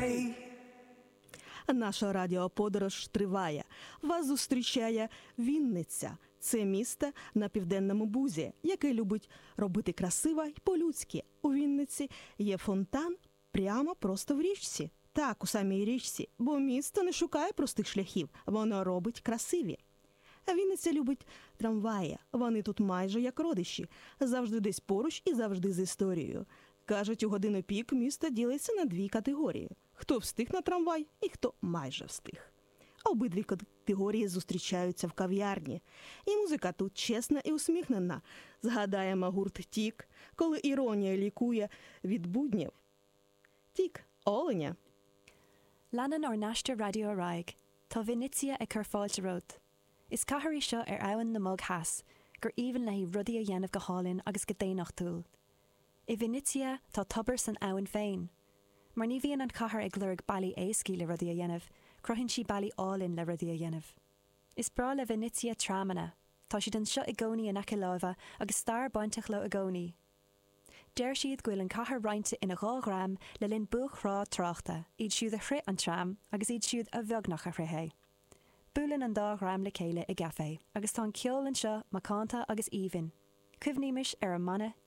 day. Наша радіоподорож триває. Вас зустрічає Вінниця. Це місто на південному бузі, яке любить робити красиво й по-людськи. У Вінниці є фонтан прямо просто в річці. Так, у самій річці, бо місто не шукає простих шляхів, воно робить красиві. А Вінниця любить трамваї. Вони тут майже як родичі, завжди десь поруч і завжди з історією. Кажуть, у годину пік місто ділиться на дві категорії: хто встиг на трамвай і хто майже встиг. Обидві категорії зустрічаються в кав'ярні. І музика тут чесна і усміхнена. Згадаємо гурт Тік, коли іронія лікує від буднів. Тік Оленя. Leanann ár n-aistear raidió ar aghaidh. Tá Vinnytsia ag cur fáilte romhat. Is cathair í seo ar Abhainn na mBog Theas, gur aoibhinn léi rudaí a dhéanamh go hálainn agus go daonnachtúil. I Vinnytsia tá tobar san abhainn féin. Mar ní bhíonn an chathair ag lorg bealaí éascaí le rudaí a dhéanamh, cruthaíonn sí bealaí álainn le rudaí a dhéanamh. Is breá le Vinnytsia tramanna. Tá siad anseo i gcónaí in aice láimhe agus stair bainteach leo i gcónaí. Deir siad go bhfuil an cathair roinnte ina dhá dhream le linn buaicthráth tráchta, iad siúd a shroich an tram agus iad siúd a bheagnach a shroich é. Buaileann an dá dhream le chéile i gcaifé agus tá an ceol anseo macánta agus aoibhinn. Cuimhnímis ar an mbanna Tick.